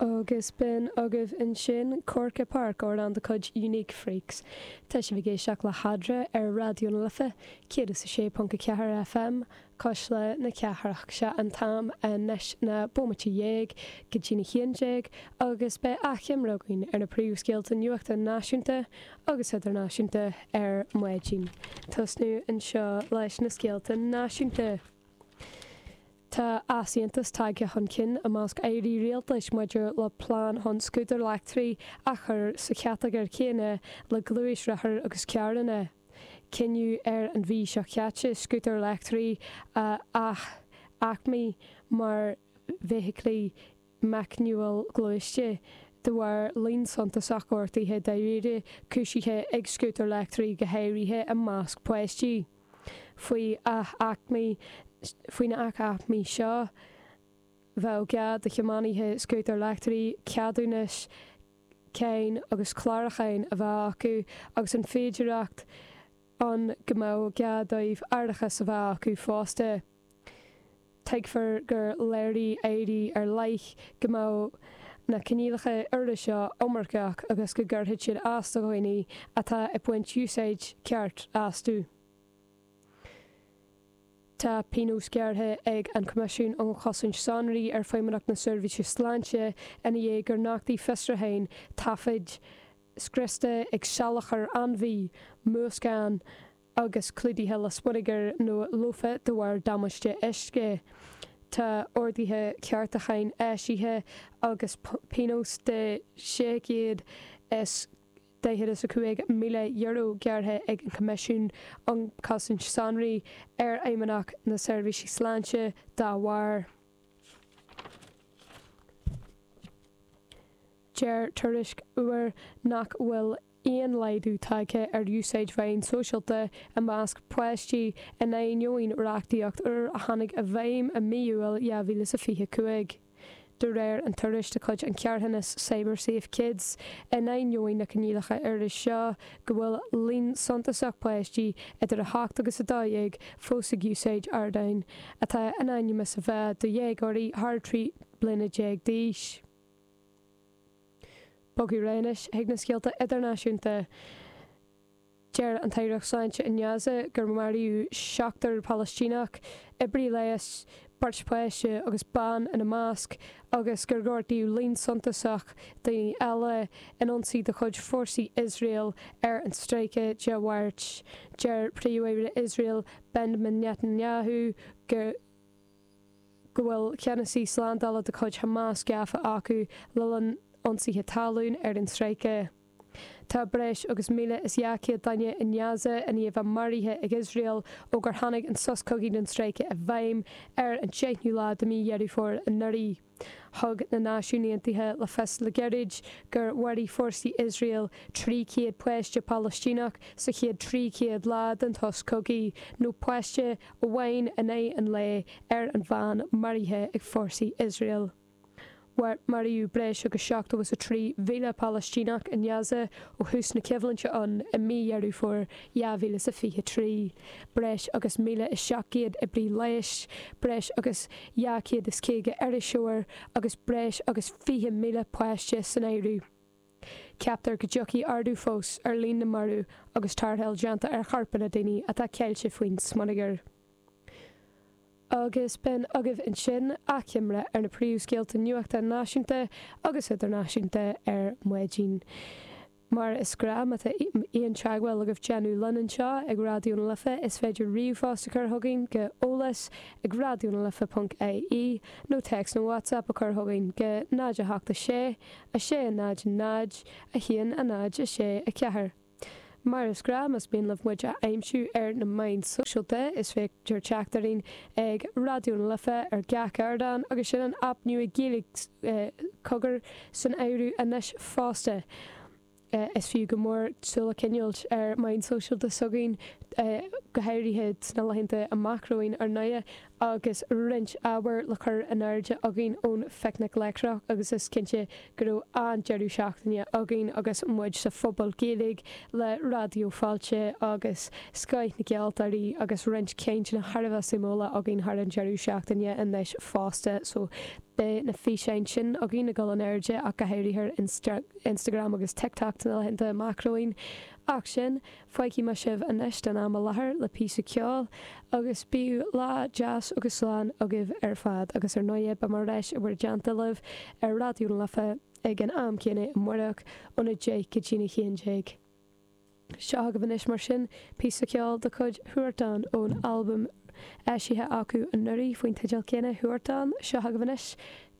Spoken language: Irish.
Agus b'in agaibh ansin Corkagh Park, amhrán de chuid Unique Freaks. Tá sibh ag éisteacht le hEadra ar Raidió na Life, 106.4 FM, Cuisle na Cathrach. Sé an t-am anois ná bomaite dhéag go dtí'n 11 agus beidh achoimre againn ar na príomhscéalta nuachta náisiúnta agus idirnáisiúnta ar maidin. Tosnú anseo leis na scéalta náisiúnta. Tá easaontas tagtha chun cinn i measc airí rialtais maidir le plean chun scútair leictrigh a chur sa chatagóir chéanna le gluaisrothair agus carranna. Cinneadh ar an mhí seo caite scútair leictrigh a ath-aicmiú mar bhfeithiclí meicniúil gluaiste de bharr líon suntasach gortuithe dáiríre cúisithe ag scútair leictrigh go háirithe i measc páistí. Faoi ath-aicmiú faoi na ath-aicmiú seo bheadh gá do thiománaithe scútair leictrigh ceadúnas cáin agus clárúcháin a bheith acu agus an féidireacht ann go mbeadh gá dóibh árachas a bheith acu fosta. Tuigtear gur léirigh airí ar leith go mbeadh na coinníollacha úra seo iomarcach agus go gcuirfeadh siad as do dhaoine atá ag baint úsáid ceart astu. Tá pionós gearrtha ag an Coimisiún um Chosaint Sonraí ar Feidhmeannacht na Seirbhíse Sláinte ina dhiaidh gur nochtaigh fiosrúcháin taifid scriosta ag salachar ainmhí, múscán, agus clúdaithe le smionagar nó lofa de bharr damáiste uisce. Tá orduithe ceartúcháin eisithe agus pionós de €645,000 gearrtha ag an Choimisiún um Chosaint Sonraí ar Fheidhmeannacht na Seirbhíse Sláinte dá bharr. Deir tuairisc úr nach bhfuil aon laghdú tagtha ar úsáid mheáin sóisialta i measc páistí in ainneoin reachtaíocht úr a tháinig i bhfeidhm i mí Iúil 2025. De réir an tuairisc de chuid an charthanas CyberSafe Kids, in ainneoin na coinníollacha úra seo go bhfuil líon suntasach páistí idir 8 agus 12 fós ag úsáid ardáin atá in ainm is a bheith do dhéagóirí thar 13 bliana d'aois. Bogadh ar aghaidh anois chuig na scéalta idirnáisiúnta. Deir an tAireacht Sláinte i nGaza gur maraíodh seachtar Palaistíneach, oibrí leighis, beirt pháiste agus bean ina measc, agus gur gortaíodh líon suntasach daoine eile in ionsaí de chuid fórsaí Iosrael ar an stráice Dé Máirt. Deir Príomh-Aire Iosrael Benjamin Netanyahu go. go bhfuil ceannasaí slándála de chuid Hamas gafa acu le linn ionsaithe talún ar an stráice. Tá breis agus 1,200 duine i nGaza i ndiaidh a bheith maraithe ag Iosrael ó gur tháinig an sos cogaidh don stráice i bhfeidhm ar an 10ú lá de mhí Dheireadh Fómhair anuraidh. Thug na Náisiúin Aontaithe le fios le gairid gur mharaigh fórsaí Iosrael 300 páiste Palaistíneach sa chéad 300 lá den tsos cogaidh, nó páiste amháin in aghaidh an lae ar an mheán maraithe ag fórsaí Iosrael. Maraíodh breis agus 73,000 Palaistíneach i nGaza ó thús na coimhlinte ann i mí Dheireadh Fómhair 2023. Breis agus 1,700 oibrí leighis, breis agus 250 iriseoir agus breis agus 20,000 páiste san áireamh. Ceaptar go dtiocfaidh ardú fós ar líon na marbh agus tarrtháil déanta ar chorpanna daoine atá ceilte faoin smionagar. Agus b'in agaibh ansin achoimre ar na príomhscéalta nuachta náisiúnta agus idirnáisiúnta ar maidin. Mar is gnáth, má tá aon teagmháil agaibh déanamh linn anseo ag Raidió na Life, is féidir ríomhphost a chur chugainn go eolas ag raidionalife ponc ie nó téacs nó WhatsApp a chur chugainn go 0 8 6 6 0 0 1 0 6 4. Mar is gnáth, más mian libh muid a aimsiú ar na meáin sóisialta, is féidir teacht orainn ag Raidió na Life ar gach ardán agus sin an aip nua Gaeilge Cogar san áireamh anois fosta. Is fiú go mór súil a choinneáilt ar meáin sóisialta s'againn. Go háirithe sna laethanta amach romhainn ar ndóigh agus roinnt ábhair le cur in airde againn ón Phicnic Leictreach agus is cinnte go raibh an-deireadh seachtaine againn agus muid sa Phuball Gaeilge le Raidió Fáilte agus scoith na gceoltóirí agus roinnt cainteanna thar a bheith suimiúla againn thar an deireadh seachtaine anois fosta so beidh na físeáin sin againn ag dul in airde ach go háirithe ar Instagram agus TikTok sna laethanta amach romhainn. Ach sin. Fágfaidh mé sibh anois don am i láthair le píosa ceoil agus bíodh lá deas agus slán agaibh ar fad agus ar ndóighe beidh mé ar ais i bhur dteannta libh ar Raidió na Life ag an am céanna amárach óna 10 go dtína 11. Seo agaibh anois mar sin píosa ceoil de chuid Huartan ón albam eisithe acu anuraidh faoin teideal céanna Huartan. Seo agaibh anois.